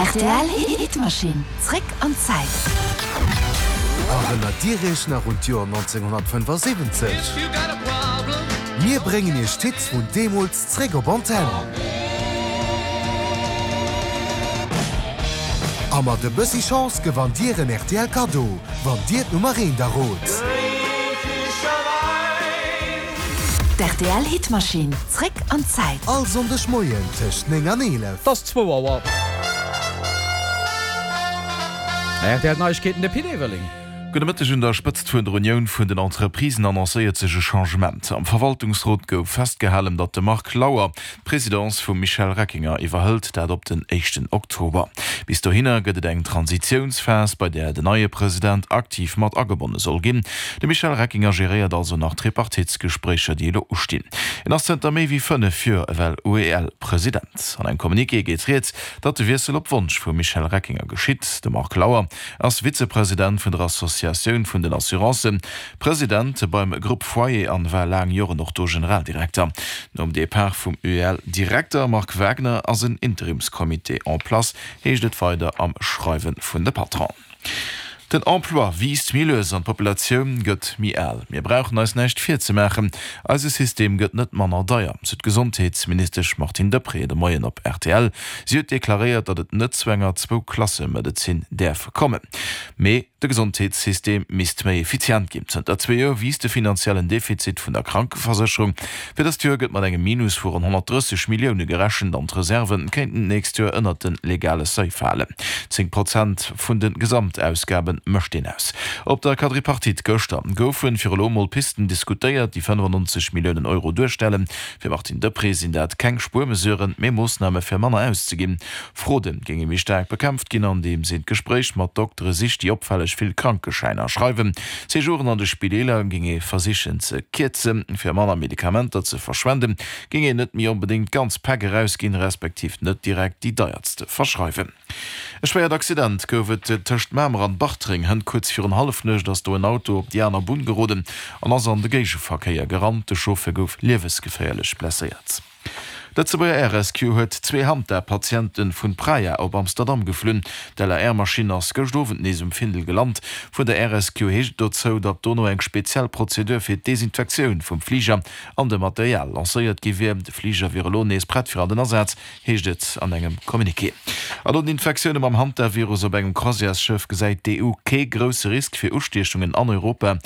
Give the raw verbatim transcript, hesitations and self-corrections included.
R T L Hitmaschinn. Zréck an d'Zäit. Erënnert Dir Iech nach un d'Joer nonzénghonnertfënnefasiwwenzeg? Mir bréngen Iech d'Hits vun deemools zréck op Antenn. A mat e bëssi Chance gewannt Dir en R T L Kaddo, wann Dir d'Nummer eent errot. D' R T L Hitmaschinn. Zréck an d'Zäit. All Sonndeg Moien tëscht néng an eelef. Et ass zwou Auer. R T L Neiegkeeten, de Pit Everling. Gudde Mëtteg. Un der Spëtzt vun der Unioun vun den Entreprisen annoncéiert sech e Changement. Am Verwaltungsrot gouf festgehalen, datt de Marc Lauer d'Presidence vum Michel Reckinger iwwerhëlt, dat op den éischten Oktober. Bis dohinner gëtt et eng Transitiounsphas, bei där den neie President aktiv mat agebonne soll ginn. De Michel Reckinger geréiert also nach d'Tripartitsgespréicher, déi elo ustinn. Hien ass zënter méi wéi fënnef Joer ewell U E L-President. An engem Communiqué geet rieds, datt de Wiessel op Wonsch vum Michel Reckinger geschitt. De Marc Lauer ass Vizepresident vun der Associatioun vun den Assurancen, President beim Grupp Foyer an war laang Joren och do Generaldirekter. Nom Depart vum U E L-Direkter Marc Wagner ass en Interimscomité en place, heescht et weider am Schreiwe vun de Patronen. Den Emploi wiisst méi lues an d'Populatioun gëtt méi al. Mir brauchen eis näischt virzemaachen, eise System gëtt net manner deier, sou d'Gesondheetsministesch Martine Deprez de Moien op R T L. Si huet deklaréiert, datt et net zu enger Zwou-Klasse-Medezin däerf kommen, mee de Gesondheetssystem misst méi effizient ginn. Zënter zwee Joer wiisst de finanziellen Defizit vun der Krankeversécherung. Fir dëst Joer gëtt mat engem Minus vu ronn honnertdrësseg Millioune gerechent an d'Reserve kéinten d'nächst Joer ënnert de legale Seuil falen. Zéng Prozent vun de Gesamtausgabe mécht deen aus. Op der Quadripartite gëschter goufe fir elo mol Pisten diskutéiert, déi fënnefannonzeg Milliounen Euro duerstellen. Fir Martine Deprez sinn dat keng Spuermesuren, mee Moossname fir manner auszeginn. Fraude géinge méi staark bekämpft ginn, andeems een d'Gespréich mat Doktere sicht, déi opfälleg vill Krankeschäiner schreiwen. D'Séjouren an de Spideeler géing ee versichen ze kierzen. Fir manner Medikamenter ze verschwenden, géing een net méi onbedéngt ganz Päck erausginn, respektiv net direkt déi deierste verschreiwen. E schwéiert Accident gouf et tëscht Mamer an Bartreng. Hënt kuerz virun Hallefnuecht ass do en Auto op déi aner Bunn geroden an ass an de Géigeverkéier gerannt. De Chauffer gouf liewesgeféierlech blesséiert. D'Lëtzebuerger Air Rescue huet zwee Hanta-Patiente vun Praia op Amsterdam geflunn. D'L A R-Maschinn ass gëscht Owend nees um Findel gelant. Vun der Air Rescue heescht et dozou, datt dono eng speziell Prozedur fir d'Desinfektioun vum Fliger an dem Material lancéiert gi wier. De Fliger wier elo nees prett fir an den Asaz, heescht et an engem Communiqué. An no den Infektioune mam Hantavirus op engem Croisièresschëff gesäit d'E U kee grousse Risk fir Ustiechungen an Europa.